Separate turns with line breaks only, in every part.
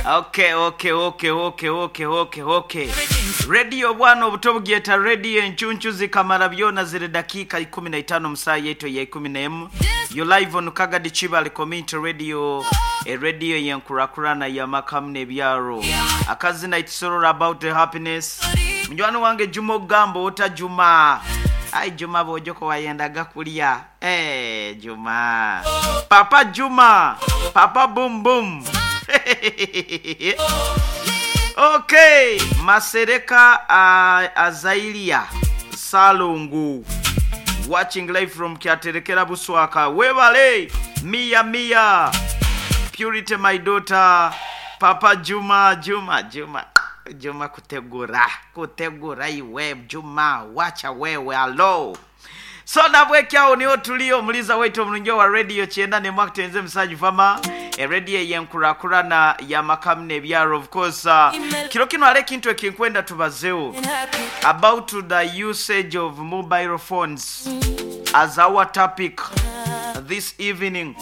Okay, okay, okay, okay, okay, okay, okay. Radio obwana obuto bugyeta radio enchunchu zikamara byona ziri dakiika 15 mu saaha yaitu eya 11. You live on Kagadi Kibale Community Radio, e radio yenkurakurana y'amakamu n'ebyaro. Akazina it's all about the happiness. Munywani wange Juma ogamba ota Juma. Ai Juma bwojoko wayendaga kulya. Eh, Juma. Papa Juma. Papa boom boom. Okay, Masereka Azailia Salungu watching live from Kyaterekera Buswaka. Webale Mia Mia Purity my daughter Papa Juma Juma Juma Juma kutegura kutegura iwe Juma wacha wewe alo. So nabwekyawo niho tuli omuliza waitu omulungi wa radio kyenda ne mwakutenze musajja fama e radio yenkurakurana ya makamu n'ebyaro. Of course kiro kino ale ekintu ekinkwenda tubazeho about the usage of mobile phones as our topic this evening.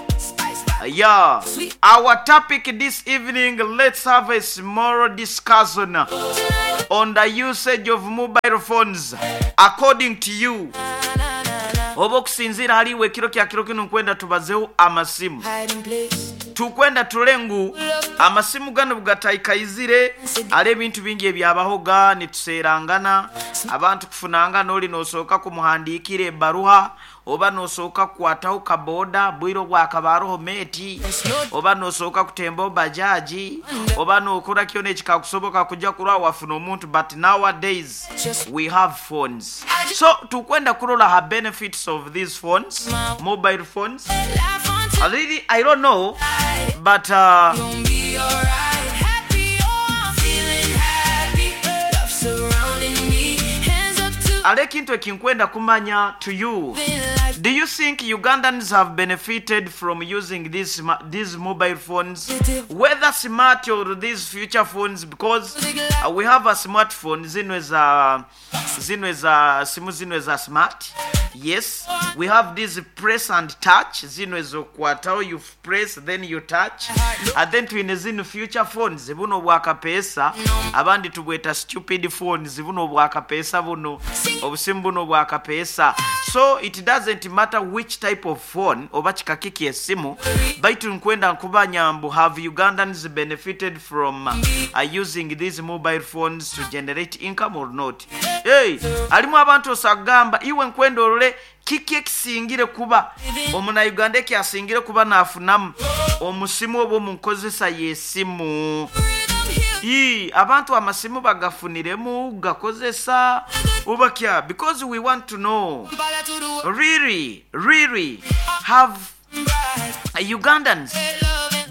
Yeah, our topic this evening, let's have a small discussion on the usage of mobile phones according to you. Oba okusinziira haliwo ekiro kya kiro kino nkwenda tubazeho amasimu. Tukwenda tulengu amasimu gano bugataikaizire ali ebintu bingi ebyabahoga nituseerangana abantu kufunanga noli nosooka kumuhandiikira ebbaruha oba nosooka kukwataho kaboda bwire bwakabaroho meti oba nosooka kutemba bajaji oba nokora kyona ekikakusoboka kujja kurwa wafuna omuntu. But nowadays we have phones, so tukwenda kurola ha benefits of these phones, mobile phones. Really, I don't know, but ale ekintu ekinkwenda kumanya to you, do you think Ugandans have benefited from using these mobile phones, whether smart or these future phones? Because we have a smartphone zino za zino za simu zino za smart. Yes, we have this press and touch zino ezokwataho, you press then you touch, and then twine zino future phones buno bwakapesa abandi tubweta stupid phones buno bwakapesa buno obusimu buno bwakapesa. So it doesn't matter which type of phone oba kikakiki esimu, baitu nkwenda nkubanya mbu have Ugandans benefited from using these mobile phones to generate income or not? Hey, alimu abantu osagamba iwe nkwenda olole kiki ekisingire kuba omunauganda ekyasingire kuba nafunamu omusimu oba omunkozesa y'esimu. Ii, abantu amasimu bagafuniremu gakozesa ubakya, because we want to know really, really have Ugandans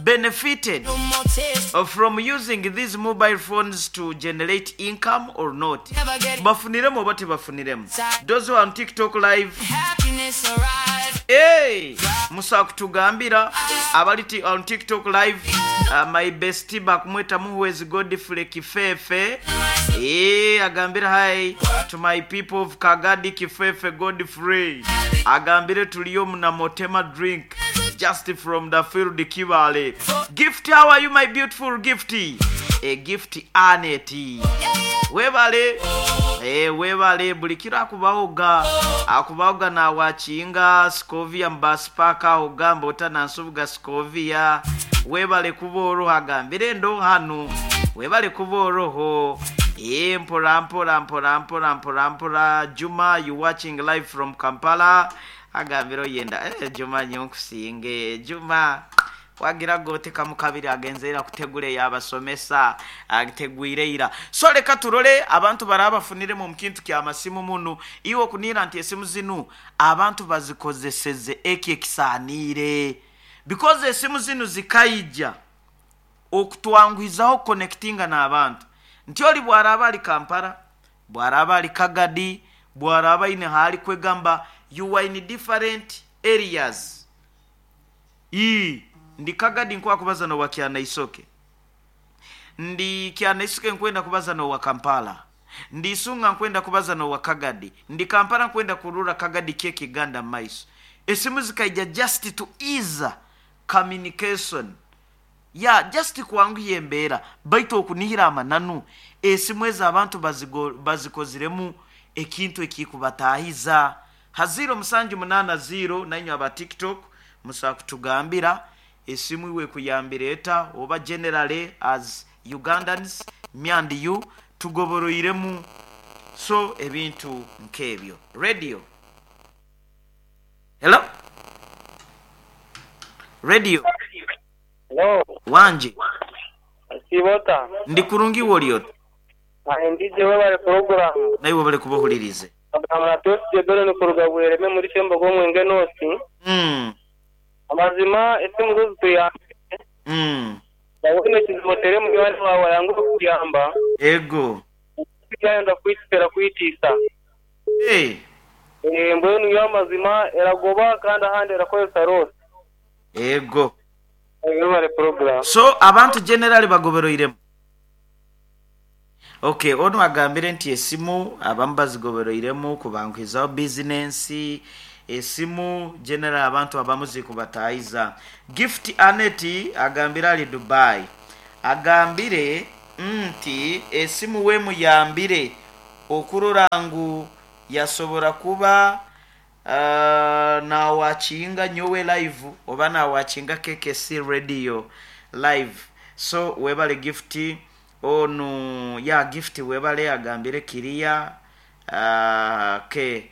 benefited from using these mobile phones to generate income or not? Bafuniremu oba tebafuniremu? Those who are on TikTok live, hey, musa kutugambira abali on TikTok live. My bestie bakumweta Muhwezi Godfrey Kifefe. Agambira hi to my people of Kagadi Kifefe Godfrey. Agambire tuliyo muna Motema drink just from the field Kibale. Gift, how are you my beautiful gifty? A gift Aneti. Webale. Webale buli kiro akubahoga akubahoga na wachinga Scovia mbaspaka ogamba otana nsubuga Scovia. Webale kuba oroho agambire ndo hano webale kuba oroho. Mpora mpora mpora mpora mpora mpora. Juma, you watching live from Kampala. Agambire oyenda Juma nyonkusinge Juma wagira goteka mukabiri agenzera kutegule yabasomesa ategwire ira. So leka turole abantu barabafunire mu kintu kya masimu munu iwo kunira nti esimu zinu abantu bazikozeseze eki ekisanire, because esimu zinu zikaija okutwangwizaho connectinga n'abantu nti oli bwaraba ali Kampala, bwaraba ali Kagadi, bwaraba ine hali kwegamba you are in different areas. Ndi Kagadi nkwa kubaza no wakyana isoke, ndi kyana isoke nkwenda kubaza no wa Kampala, ndi Isunga nkwenda kubaza no wa Kagadi, ndi Kampala nkwenda kurura Kagadi keki Ganda maiso. Esimu zikaija just to ease communication. Ya just kwanguhya embeera, baitu okunihira amananu, esimu ezo abantu bazikoziremu ekintu ekikubataahiza. Ha ziiro musanju munaana ziiro nainywe aba TikTok musobola kutugambira esimu iwe ekuyambire eta oba generally as Ugandans me and you tugoboroiremu so ebintu nk'ebyo. Radio. Hello? Radio.
Hello.
Wangi.
Osiiba ota?
Ndi kurungi iwe oli ota?
Aye ndije webale pulogulaamu.
Naiwe webale kuba ohuliriize.
Bagamba na Twesigye Benon kuruga Bwereme muri Kyembogo Omwenge North. Amazima esimu zo zituyambire. Waba oine ekizibu oteere munywani waawe ayanguhe kukuyamba.
Ego.
Tiyayenda kukwitisa erakwitiisa. Mbwenu yo amazima eragoba kandi ahandi erakozesa roosi.
Ego.
Webale pulogulaamu.
So abantu generally bagoberoiremu. Ok, onu agambire nti esimu abamu bazigoberoiremu kubanguhizaho bizinensi, esimu generally abantu abamu zikubataahiza. Gift Annet agambire ali Dubai, agambire nti esimu wemuyambire okurora ngu yasobora kuba nawakinga nyowe live oba nawakinga KKC radio live. So webale Gift, onu ya Gift webale agambire kiriya okay,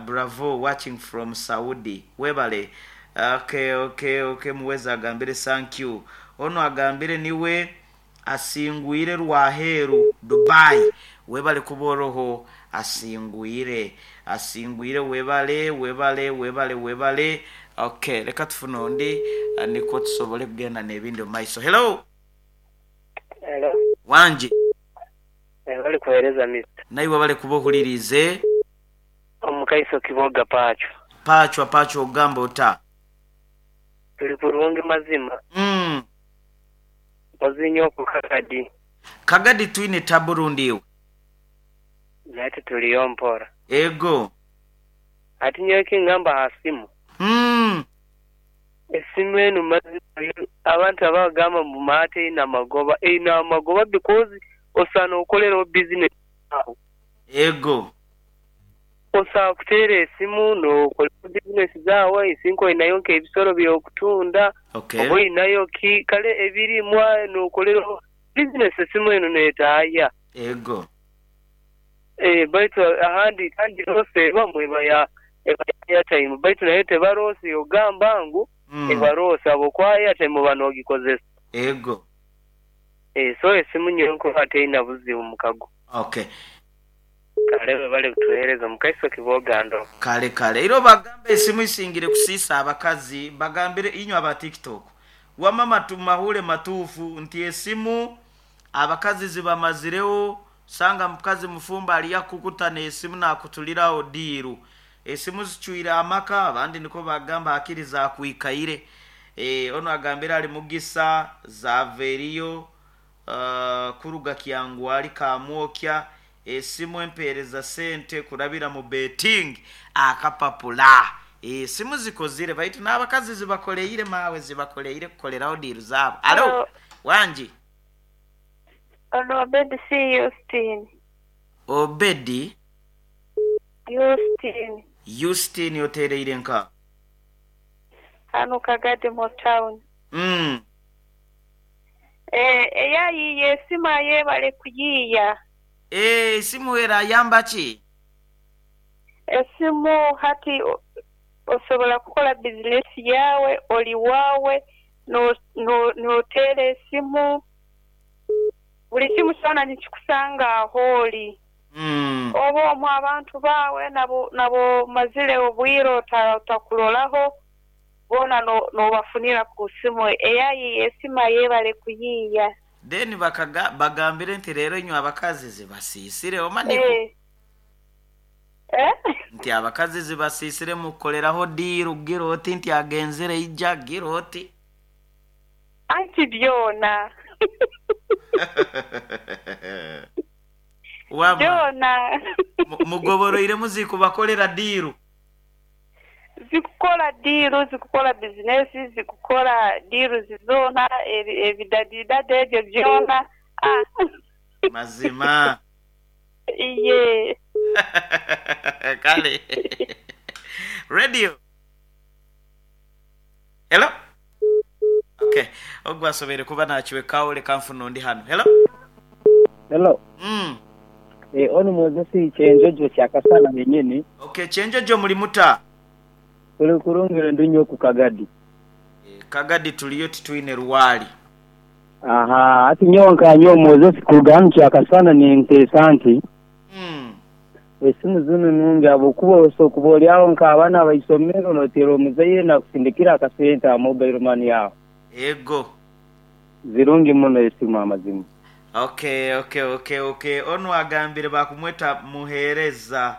bravo watching from Saudi webale. Okay, okay, okay, muweza agambire thank you. Onu agambire niwe asingwire Rwaheru Dubai, webale kuboroho asingwire, asingwire webale, webale, webale, webale. Okay, leka tufune ondi nikwo tusobole kugenda n'ebindi omu maiso. Hello.
Hello.
Wangi.
Webale kuhereza Mister.
Naiwe webale kuba ohuliriize.
Omukaiso Kiboga Pacho.
Pacho, Pacho ogamba ota?
Tuli kurungi mazima. Mpozi inyo ku Kagadi.
Kagadi twine tabu rundi iwe.
Naitwe tuliyo mpora.
Ego.
Ati nyowe ekingamba aha simu. Esimu enu mazima yo abantu abagamba mbu maate eine amagoba, eine amagoba because osaana okolereho bizinesi yaawe.
Ego.
Osobola kuteera esimu nokoleraho bizinesi zaawe, isinka oinayo nk'ebisolo by'okutunda, oba oinayo ki, kale ebirimwa nokoleraho bizinesi esimu enu neetaaya.
Ego.
Eeh baitu ahandi kandi loosi ebamu eba ya eba ya airtime baitu nayo teba loosi y'ogamba ngu eba loosi habwokuba airtime oba n'ogikozesa.
Ego.
Eeh so esimu nyowe nkurora teina buzibu mukago.
Okay.
Kale webale kutuhereza mukaiso Kibogando.
Kale kale. Era obagambe esimu isingire kusiisa abakazi, bagambire inywe aba TikTok. Wama matu mahule matuufu nti esimu abakazi zibamaziregho, osanga mukazi mufumbo ali akukuta n'esimu nakutuliragho diiru. Esimu zicwire amaka, abandi nikwo bagamba hakiri zakwikaire. Eeh onu agambire ali Mugisa, Zaveriyo, kuruga Kyangwali Kamwokya, esimu empeereza sente kurabira mu betting akapapula. Esimu zikozire baitu n'abakazi zibakoleire maawe zibakoleire kukoleraho diiru zaabo. Alo, wangi?
Ono Obedi si Yusitini.
Obedi?
Yusitini.
Yusitini otereire nka?
Hano Kagadi mu tawuni. Eeh eyayiiya esimu ayebale kuyiiya.
Eeh esimu erayamba ki?
Esimu hati osobola kukola bizinesi yaawe oli waawe n'oteera esimu, buli kimu kyona nikikusanga agho oli. Oba omwo abantu baawe n'abomazire obwire otakuroraho boona n'obafunira ku simu. Eyayiiya esimu ayebale kuyiiya.
Then bagambire nti leero inywe abakazi zibasiisire omanhiku? Nti abakazi zibasiisire mukukoleraho diiru gira oti nti agenzere ija gira oti.
Anti byona.
Wama
Byona.
Mugoboroire muzikubakolera diiru.
Zikukola diiru, zikukola bizinesi, zikukola diiruzi zoona. Ebidadidadi ebyo byona. Ah.
Mazima.
Iye.
Kale. Radio. Hello. Okay. Ogwo asoboire kuba nakiwekawo leka nfune ondi hano. Hello.
Hello. Onu Moses Kyenjojo Kyakasana yenyini.
Okay, Kyenjojo muli muta?
Tuli kurungi ndi nyo ku Kagadi.
Kagadi tuliyo titwine lwali.
Ahaa, ati nyowe nka nyowe Moses kuruga hanu Kyakasana ninteesa nti esimu zinu nungi habwokuba osobola kuba ori aho nk'abaana baisomero noteera omuzaire nakusindikira akasente aha mobile money aho.
Ego.
Zirungi muno esimu amazima.
Okay, okay, okay, okay. Onu agambire bakumweta Muheereza.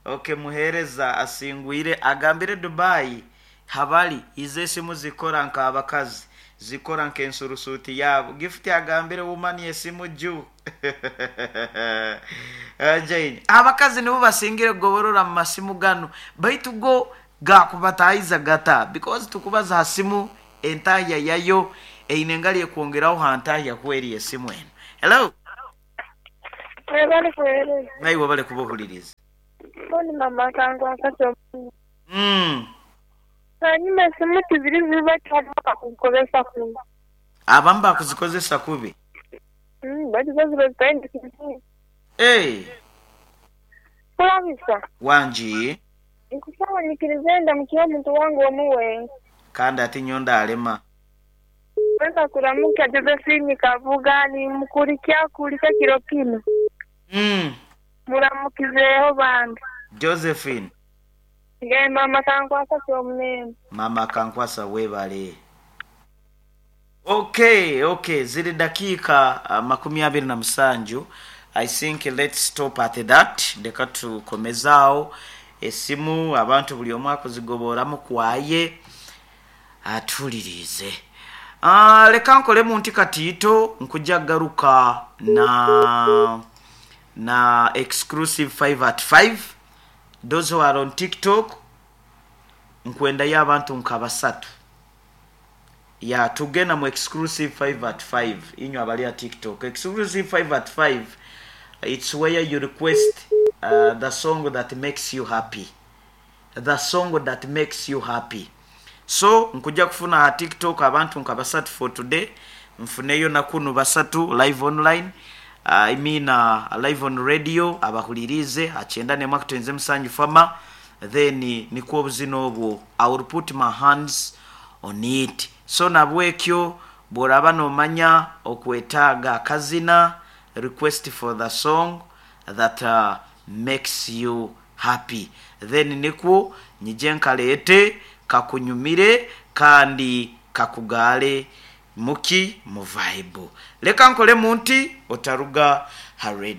Okay, Muheereza asingwire agambire Dubai habali izo esimu zikora nk'abakazi, zikora nk'ensurusuuti yaabo. Gift agambire woman esimu ju. Jane, abakazi nibo basingire kugoborora mu masimu ganu, baitu go gakubatahiza gata because tukubaza ha simu entahya yayo eine engali ekwongeraho ha ntahya kweri esimu eno. Hello.
Webale kuwereza.
Naiwe webale kuba ohuliriza.
Mboni mama akankwasa kyomuno. Hanyuma esimu tiziri zibi baitu hariho abakuzikozesa kubi.
Abamu bakuzikozesa kubi.
Baitu zo ziba zitaine kintu.
Hey.
Kulabisa.
Wangi.
Nkusaba nyikirize ndamukire omuntu wange omuwe.
Kandi ati nyo ndalema.
Weza kuramuka Josephine Kavuga ni mukulikia kulika kiro kino. Muramukizeho bambi.
Josephine.
Nge mama kankwasa kyomunene.
Mama kankwasa webale. Okay, okay. Ziri dakika 27. I think let's stop at that. Leka tukomezaawo esimu abantu buli omu akuzigoboramu kwaye atulirize. Leka nkolemu nti katiito nkujja garuka na exclusive 5 at 5. Those who are on TikTok nkwendayo abantu nka basatu. Ya tugenda mu exclusive 5 at 5 inywe abali a TikTok. Exclusive 5 at 5, it's where you request the song that makes you happy. The song that makes you happy. So nkuja kufuna ha TikTok abantu nka basatu for today. Nfuneyo nakunu basatu live online. I mean live on radio abahulirize achenda ne mwakutenze musanju fama, then nikwo obuzina obwo I will put my hands on it. So nabwekyo bworaba nomanya okwetaaga akazina, request for the song that makes you happy, then nikwo nyije nkaleete kakunyumire kandi kakugale muki mu vibe. Leka nkole munti otaruga ha radio.